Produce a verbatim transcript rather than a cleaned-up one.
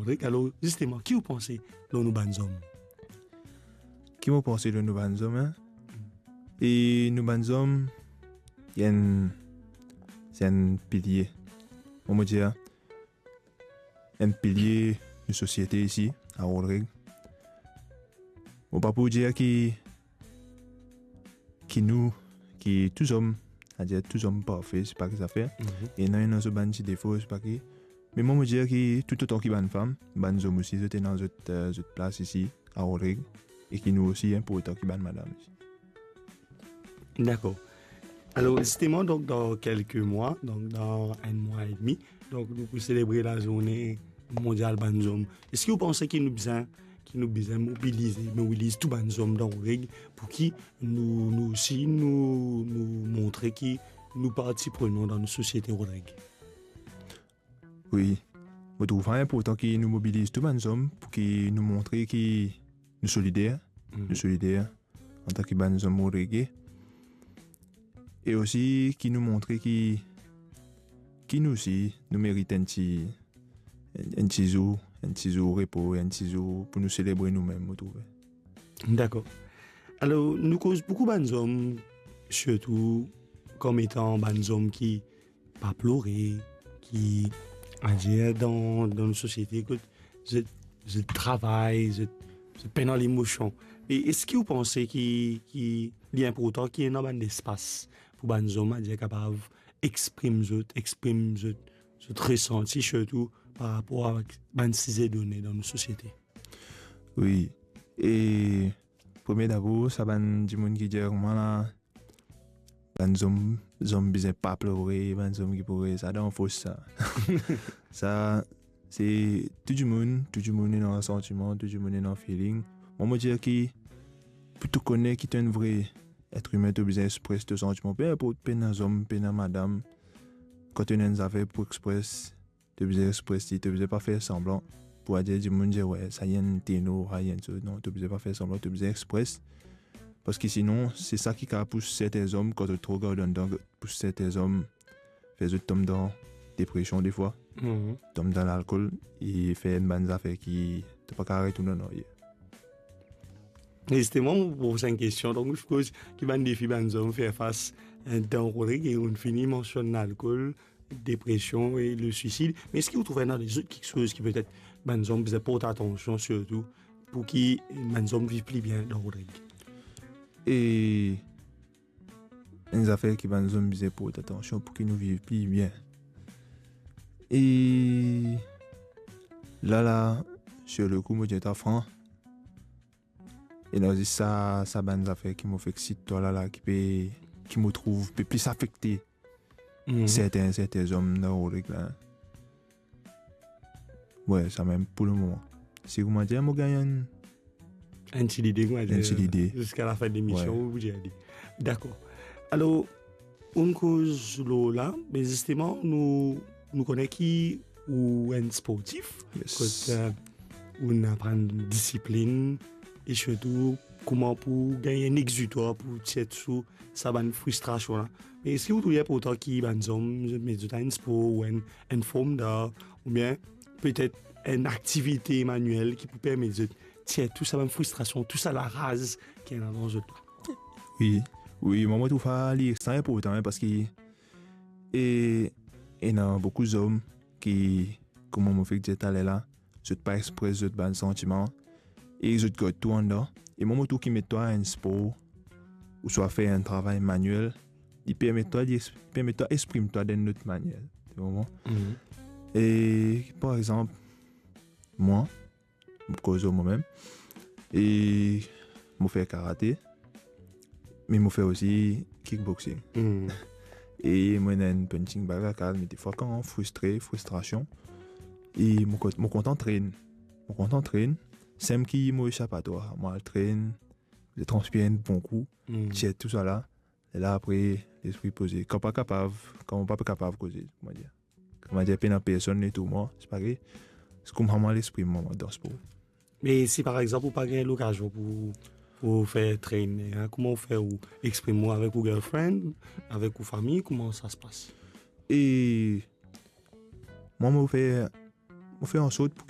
Rodrig, alor, zisteman, ki ou panse lor nou bann zom? Ki mo panse lor nou bann zom, en? E nou bann zom, li enn, se enn pilie. Mo, mo dir, enn pilie nou sosiete isi, a Rodrig. Mo pa pou dir ki, ki nou, ki tou zom, savedir tou zom parfe, se pa ki zafer. Mhm. E ena, ena zot bann ti defo, se pa ki. Me mo, mo dir ki toutotan ki bann fam, bann zom osi, zot ena zot, eh, zot plas isi, a Rodrig, e ki nou osi inportan ki bann madam isi. Dakor. Alor, zisteman, donk, dan kelke mwa, donk, dan enn mwa edmi, donk, nou pou selebre lazourne mondial bann zom. Eski ou panse ki nou bizin, ki nou bizin mobilize, mobiliz tou bann zom dan Rodrig pou ki nou, nou osi, nou, nou montre ki nou parti prenan dan nou sosiete, Rodrig? Wi. Mo trouv sa inportan ki nou mobiliz tou bann zom pou ki nou montre ki nou solider, Mhm. nou solider antan ki bann zom Rodrig. E osi ki nou montre ki, ki nou osi, nou merit enn ti, enn, enn ti zour, enn ti zour repo, enn ti zour pou nou selebre noumem, mo trouve. Dakor. Alor, nou koz boukou bann zom, sirtou kom etan bann zom ki pa plore, ki, adir dan, dan nou sosiete, kot zot, zot travay, zot, zot pena lemosion. E eski ou panse ki, ki li inportan ki ena bann lespas pou bann zom, adir kapav exprim zot, exprim zot, zot resanti, sirtou par rapor avek bann size done dan nou sosiete? Wi. E premie dabor, sa bann dimoun ki dir mwa la, bann zom, zom bizin pa plore, bann zom ki plore, sa dan fos sa. Sa, se tou dimoun, tou dimoun ena santiman, tou dimoun ena feeling. Mwa, mo dir ki pou to kone ki to enn vre et imin, to bizin expres to santiman. Pe inport, pena zom, pena madam, kan to ena enn zafer pou expres, to bizin expres li, to bizin pa fer sanblan pou adir dimoun dir, "We, sa enn tenor, sa enn so." Non, to bizin pa fer sanblan, to bizin expres. Parski sinon, se sa ki kapav pous serten zom, kan to tro gard andan, pous serten zom, fer zot tom dan depresion defwa, Mhm. tom dan lalkol, e fer enn bann zafer ki to pa kapav retourn an aryer. Zisteman, mo pou poz enn kestion. Donk, mo sipoz ki bann defi bann zom fer fas, eh, dan Rodrig, e ou'nn fini mansionn lalkol, depresion e le swisid. Me eski ou trouv ena lezot kiksoz ki petet bann zom bizin port atansion, sirtou pou ki bann zom viv pli bien dan Rodrig? E enn zafer ki bann zom bizin port atansion pou ki nou viv pli bien. E la la, sur le coup, mo dir twa fran, ena zis sa, sa bann zafer ki mo fek sit twa la la, ki pe, ki mo trouv pe plis afekte Mhm. serten, serten zom dan Rodrig la. We, samem pou le moman. Si koumadir mo gagn enn, enn ti lide, koumadir, enn ti lide, ziska lafin de lemision, we, ou pou dir li. Dakor. Alor, ou'nn koz lor la, me zisteman, nou, nou kone ki ou enn sportif, yes, kot, eh, ou'nn aprann disiplinn, e sirtou kouma pou gagn enn exitwar pou tir sou sa bann fristrasion la. Me eski ou trouv li inportan ki bann zom, zot met zot a enn spor ou enn, enn form d'art, oubien petet enn aktivite maniel ki pou permet zot tir tou sa bann fristrasion, tou sa laraz ki ena dan zot la? Wi, wi, mwa, mo trouv sa li extra inportan, en, parski, e, ena boukou zom ki, kouma mo fek dir taler la, zot pa expres zot bann santiman, e zot gard tou andan. E mwa, mo trouv ki met twa enn spor, ouswa fer enn travay maniel, li permet twa, li ex-, permet twa exprim twa dan enn lot manier. To konpran? Mhm. E, par exanp, mwa, mo koz ar mwa mem, e mo fer karate, me mo fer osi kickboxing. Hmm. E mo ena enn punching bag lakaz, me defwa kan fristre, fristrasion, e mo kon-, mo kontan trenn. Mo kontan trenn. Semem ki mo esapatwar, mo al trenn, mo transpir enn bon kou, hmm, tir tou sa la. E la apre, lespri poze. Kan pa kapav, kan mo pa pe kapav koze, koumadir. Koumadir, pena personn letour mwa, se parey. Se kouma mwa lespri mwa, mwa dan spor. Me si par exanp ou pa gagn lokazion pou, pou fer training, en, kouma ou fer, ou exprim ou avek ou girlfriend, avek ou fami, kouma sa se pas? E mwa, mo fer, mo fer ansort pou